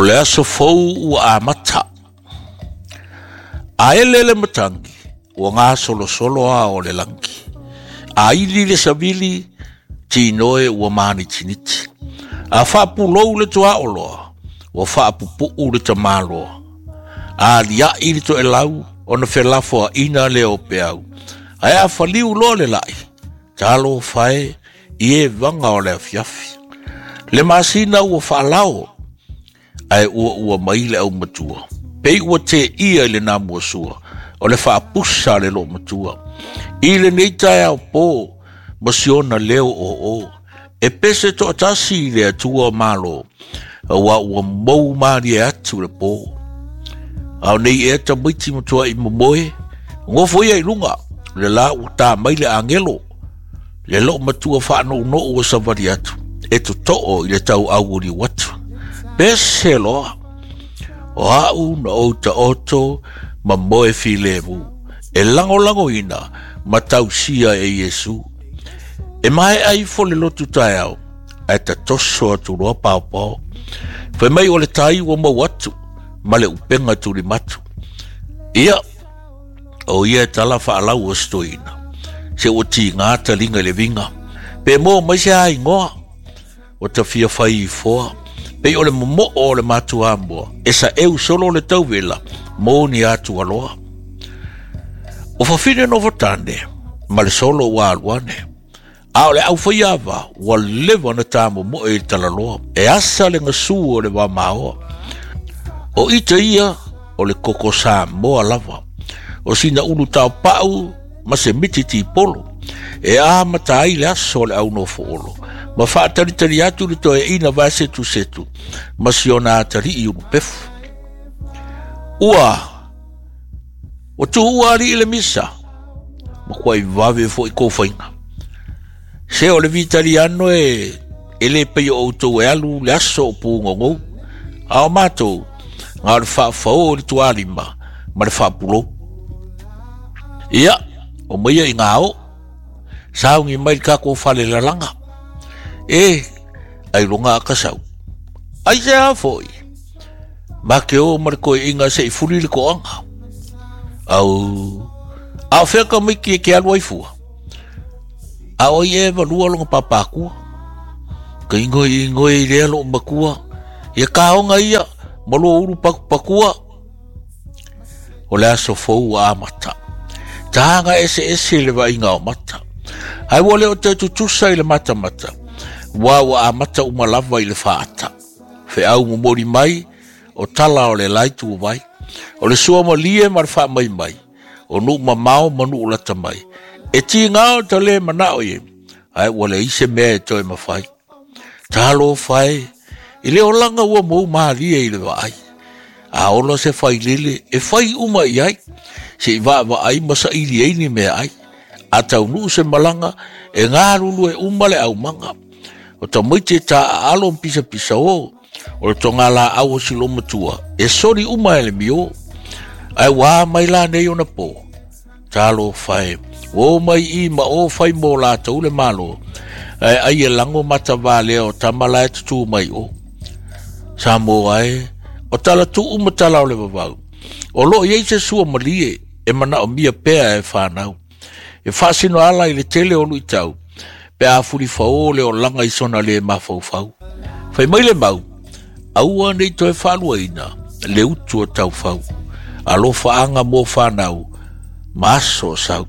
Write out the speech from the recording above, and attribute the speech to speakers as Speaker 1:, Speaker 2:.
Speaker 1: le aso fou ua amata. A ele le matagi, ua gasolosolo ao o le lagi. A ili le savili, tinoe ua manitiniti. A faapulou le tuaoloa, ua faapupuu le tamaloa. A aliaʻi le toelau, ona felafoaʻina lea o peau. Ae a faliu loa le lai, talofa e i evaga o le afiafi. Le masina ua faalao, ae uaua mai le aumatua. Pei ua teia i le namuasua, o le faapusa a le loomatua. I lenei taeao po, ma siona leo oo, e pese toatasi i le Atua o Malo, auā ua mou malie atu le po. A o nei ea tamaiti matuaʻi momoe, nofo ia i luga, le la ua tā mai le agelo, le loomatua faanounou ua savali atu, e totoo i le tauauuliu atu. Pese loa, o au na ou taoto ma moe filemu, e lagolagoina ma tausia e Iesu. E maea ifo le lotu taeao, ae tatoso atu loa paopao. Fai mai o le tai ua mau atu, ma le upega tulimatu. Ia, o ia e tala faalau o se toeaina, se ua tiga taliga i le viga. Pe moa mai se aigoa, ua ta fia fai ifoa. Pei o le momoo o le matuamoa, e saeu solo le tauvela, mo ni atualoa. O fafine nofotane, ma le solo ua alu ane. A o le aufaiava, ua leva ona tamomoe i le talaloa, e asa le gasu o le vamaoa. O ita ia, o le koko Samoa lava. O sina ulu taopau ma se miti tipolo, e amata ai le aso o le aunofoolo, ma faatalitali atu le toeaina vaesetusetu ma si ona atalii ulupefu. Ua ua tuua alii le misa, matuai vave foi kou faiga. Se o le Vitaliano e e le pei o outou e alu le aso o pugogou, a o matou, na o le faafao i le tualima ma le faapulou. Ia, o maia i ngā o, saungi mai le tatou fale lalaga. E, ai loga a kasau. Ai se a foi, ma ke o ma le koeʻina se i fuli le koaga. Au, a o fea ka maiki e ke alu ai fua? A o ai e walua longa papakua? Ka ingoi ingoi i lea loo makua. Ia kaonga ia, ma lua ulu pakupakua. O le aso fou ua amata. Taga eseese le vaaiga o mata. Ae ua le o toe tutusa i le matamata, ua ua amata uma lava i le faata. Feau momoli mai, o tala o le lae tuuvai. O le sua malie ma le faamaimai, o nuu mamao ma nuu lata mai. E tiga o ta le manao i ae ua leai se mea e toe mafai. Talofa e, i le olaga ua mou malie i le vaai. A ola se failele e fai uma i ai, se i vaavaai ma saili ai ni meaai. A taunuu se malaga, e galulue uma le aumaga. O tamaiti e taaalo ma pisapisao, o le togalaau o si loomatua, e soli uma e le mio. Ae ua a mai la nei ona po? Talofa e, ua o mai i ma o fai mo latou le Malo, ae ai e lago matavalea o tama la e tutū mai o. Samoa e, o tala tuu ma tala o le vavau, o loo i ai se sua malie e manaomia pea e fanau. E faasino ala i le tele o luitau, pe a fulifaō le olaga i sona lē mafaufau. Fai mai le mau, aua ne i toe faaluaina le utu o taufau. Alofaaga mo fanau ma aso o sau.